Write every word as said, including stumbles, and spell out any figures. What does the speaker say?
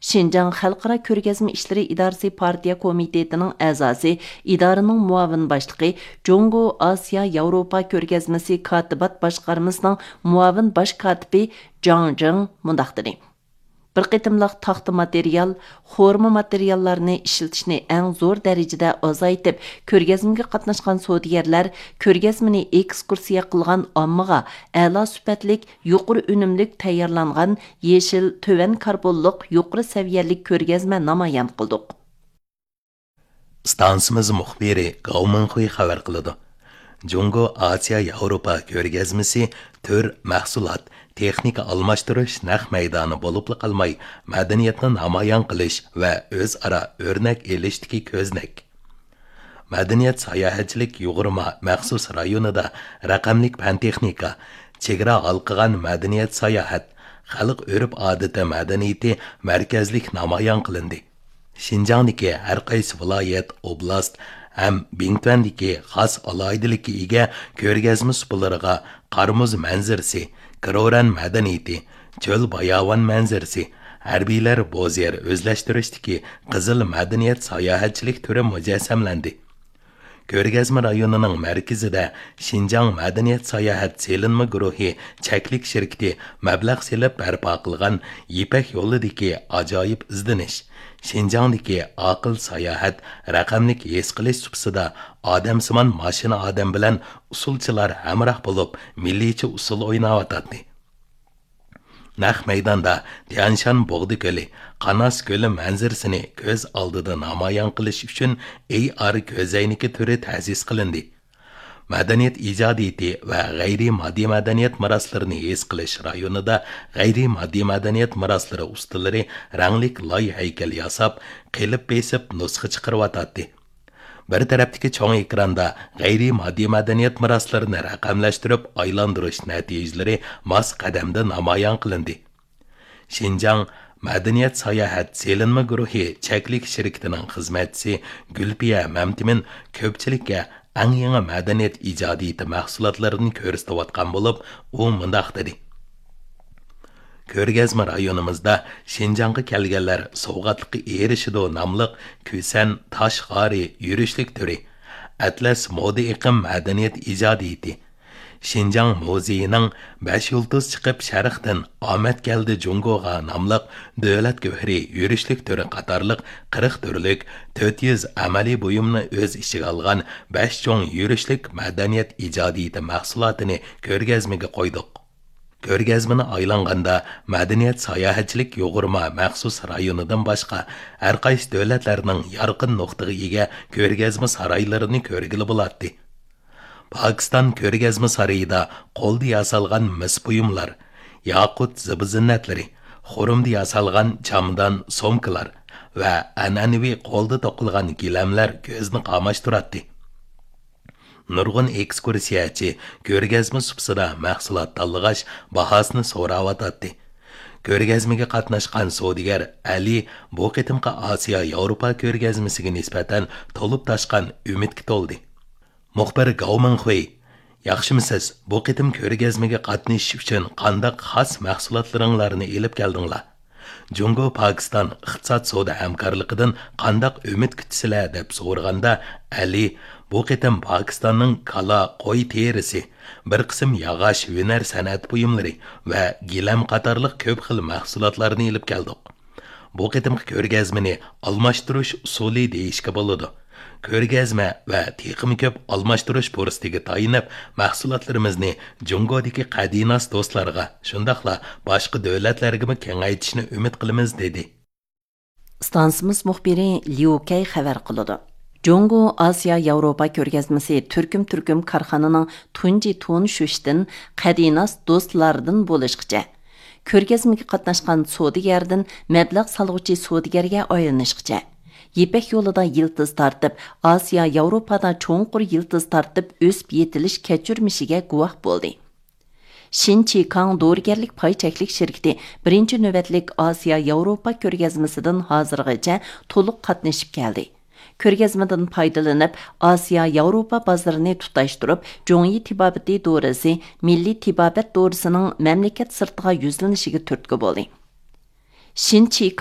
شىنجاڭ خەلقئارا كۆرگەزمە ئىشلىرى ئىدارىسى پارتىيە كومىتېتىنىڭ ئەزاسى، ئىدارىنىڭ مۇئاۋىن باشلىقى، جۇڭگو ئاسىيا ياۋروپا كۆرگەزمىسى كاتىبات باشقارمىسىنىڭ مۇئاۋىن باش كاتىپى جاڭ جىڭ مۇنداق دېدى: بىر قېتىملىق تاختا ماتېرىيال، خورما ماتېرىياللارنى ئىشلىتىشنى ئەڭ زور دەرىجىدە ئازايتىپ، كۆرگەزمىگە قاتناشقان سودىگەرلەر، كۆرگەزمىنى ئېكسكۇرسىيە قىلغان ئاممىغا ئەلا سۈپەتلىك، يۇقىرى ئۈنۈملۈك تەييارلانغان يېشىل، تۆۋەن كاربونلۇق، يۇقىرى سەۋىيەلىك كۆرگەزمە نامايان قىلدۇق. ئىستانسىمىز مۇخبىرى گاۋ مىڭخۇي خەۋەر قىلىدۇ. جۇڭگو ئاسىيا ياۋروپا كۆرگەزمىسى تۈر، مەھسۇلات، تېخنىكا ئالماشتۇرۇش نەق مەيدانى بولۇپلا قالماي، مەدەنىيەتنى نامايان قىلىش ۋە ئۆزئارا ئۆرنەك ئېلىشتىكى كۆزنەك. مەدەنىيەت ساياھەتچىلىك يۇغۇرما مەخسۇس رايونىدا رەقەملىك پەن تېخنىكا، چېگرا ھالقىغان مەدەنىيەت ساياھەت، خەلق ئۆرپ ئادىتى مەدەنىيىتى مەركەزلىك نامايان قىلىندى. شىنجاڭدىكى ھەر قايسى ۋىلايەت، ئوبلاست ھەم بىڭتۈەندىكى خاس ئالاھىدىلىككە ئىگە كۆرگەزمە سۇپىلىرىغا قارمۇز مەنزىرىسى، كروران مەدەنىيىتى، چۆل باياۋان مەنزىرىسى، ھەربىيلەر بوز يەر ئۆزلەشتۈرۈشتىكى قىزىل مەدەنىيەت ساياھەتچىلىك تۈرى مۇجەسسەملەندى. كۆرگەزمە رايونىنىڭ مەركىزىدە شىنجاڭ مەدەنىيەت ساياھەت سېلىنما گۇرۇھى چەكلىك شىركىتى مەبلەغ سېلىپ بەرپا قىلغان يىپەك يولىدىكى ئاجايىپ ئىزدىنىش، شىنجاڭدىكى ئاقىل ساياھەت رەقەملىك ھېس قىلىش سۇپىسىدا ئادەمسىمان ماشىنا ئادەم بىلەن ئۇسسۇلچىلار ھەمراھ بولۇپ، مىللىيچە ئۇسسۇل ئويناۋاتاتتى. نەق مەيداندا تيەنشان بوغدا كۆلى، قاناس كۆلى مەنزىرىسىنى كۆز ئالدىدا نامايان قىلىش ئۈچۈن ئېي ئار كۆزەينىكى تۈرى تەسىس قىلىندى. مەدەنىيەت ئىجادىيىتى ۋە غەيرىي ماددىي مەدەنىيەت مىراسلىرىنى ھېس قىلىش رايونىدا غەيرىي ماددىي مەدەنىيەت مىراسلىرى ئۇستىلىرى رەڭلىك لاي ھەيكەل ياساپ، قېلىپ بېسىپ نۇسخا چىقىرىۋاتاتتى. بىر تەرەپتىكى چوڭ ئېكراندا غەيرىي ماددىي مەدەنىيەت مىراسلىرىنى رەقەملەشتۈرۈپ ئايلاندۇرۇش نەتىجىلىرى ماس قەدەمدە نامايان قىلىندى. شىنجاڭ مەدەنىيەت ساياھەت سېلىنما گۇرۇھى چەكلىك شىركىتىنىڭ خىزمەتچىسى گۈلپىيە مەمتىمىن كۆپچىلىككە ئەڭ يېڭى مەدەنىيەت ئىجادىيىتى مەھسۇلاتلىرىنى كۆرسىتىۋاتقان بولۇپ، ئۇ مۇنداق دېدى: كۆرگەزمە رايونىمىزدا شىنجاڭغا كەلگەنلەر سوۋغاتلىققا ئېرىشىدۇ ناملىق كۈسەن تاش غارى يۈرۈشلۈك تۈرى، ئەتلەس مودا ئېقىم مەدەنىيەت ئىجادىيىتى، شىنجاڭ مۇزېيىنىڭ بەش يۇلتۇز چىقىپ شەرقتىن ئامەت كەلدى جۇڭگوغا ناملىق دۆلەت گۆھىرى يۈرۈشلۈك تۈرى قاتارلىق قىرىق تۈرلۈك تۆت يۈز ئەمەلىي بۇيۇمنى ئۆز ئىچىگە ئالغان بەش چوڭ يۈرۈشلۈك مەدەنىيەت ئىجادىيىتى مەھسۇلاتىنى كۆرگەزمىگە قويدۇق. كۆرگەزمىنى ئايلانغاندا، مەدەنىيەت ساياھەتچىلىك يۇغۇرما مەخسۇس رايونىدىن باشقا، ھەرقايسى دۆلەتلەرنىڭ يارقىن نۇقتىغا ئىگە كۆرگەزمە سارايلىرىنى كۆرگىلى بولاتتى. پاكىستان كۆرگەزمە سارىيىدا قولدا ياسالغان مىس بۇيۇملار، ياقۇت زىبۇ-زىننەتلىرى، خۇرۇمدا ياسالغان چامادان، سومكىلار ۋە ئەنئەنىۋى قولدا توقۇلغان گىلەملەر كۆزنى قاماشتۇراتتى. نۇرغۇن ئېكسكۇرسىيەچى كۆرگەزمە سۇپىسىدا مەھسۇلات تاللىغاچ، باھاسىنى سوراۋاتاتتى. كۆرگەزمىگە قاتناشقان سودىگەر ئەلى بۇ قېتىمقى ئاسىيا ياۋروپا كۆرگەزمىسىگە نىسبەتەن تولۇپ تاشقان ئۈمىدكە تولدى. مۇخبىر گاۋ مىڭخۇي: «ياخشىمۇسىز؟ بۇ قېتىم كۆرگەزمىگە قاتنىشىش ئۈچۈن قانداق خاس مەھسۇلاتلىرىڭلارنى ئېلىپ كەلدىڭلار؟ جۇڭگو پاكىستان ئىقتىساد سودا ھەمكارلىقىدىن قانداق ئۈمىد كۈتىسىلەر؟» دەپ سورىغاندا، ئەلى: «بۇ قېتىم پاكىستاننىڭ كالا، قوي تېرىسى، بىر قىسىم ياغاچ، ھۈنەر سەنئەت بۇيۇملىرى ۋە گىلەم قاتارلىق كۆپ خىل مەھسۇلاتلارنى ئېلىپ كەلدۇق. بۇ قېتىمقى كۆرگەزمىنى ئالماشتۇرۇش ئۇسۇلى دېيىشكە بولىدۇ. كۆرگەزمە ۋە تېخىمۇ كۆپ ئالماشتۇرۇش پۇرسىتىگە تايىنىپ، مەھسۇلاتلىرىمىزنى جۇڭگودىكى قەدىناس دوستلارغا، شۇنداقلا باشقا دۆلەتلەرگىمۇ كېڭەيتىشنى ئۈمىد قىلىمىز» دېدى. ئىستانسىمىز مۇخبىرى ليۇ كەي خەۋەر قىلىدۇ. جۇڭگو ئاسىيا ياۋروپا كۆرگەزمىسى تۈركۈم تۈركۈم كارخانىنىڭ تۇنجى تونۇشۇشتىن، قەدىناس دوستلاردىن بولۇشقىچە، كۆرگەزمىگە قاتناشقان سودىگەردىن مەبلەغ سالغۇچى سودىگەرگە ئايلىنىشقىچە، يىپەك يولىدا يىلتىز تارتىپ، ئاسىيا ياۋروپادا چوڭقۇر يىلتىز تارتىپ ئۆسۈپ يېتىلىش كەچۈرمىشىگە گۇۋاھ بولدى. شىن چىكاڭ دورىگەرلىك پاي چەكلىك شىركىتى بىرىنچى نۆۋەتلىك ئاسىيا ياۋروپا كۆرگەزمىسىدىن ھازىرغىچە تولۇق قاتنىشىپ كەلدى. كۆرگەزمىدىن پايدىلىنىپ، ئاسىيا ياۋروپا بازىرىنى تۇتاشتۇرۇپ، جۇڭيى تېبابىتى دورىسى، مىللىي تېبابەت دورىسىنىڭ مەملىكەت سىرتىغا يۈزلىنىشىگە تۈرتكە بولدى. شىن چىكاڭ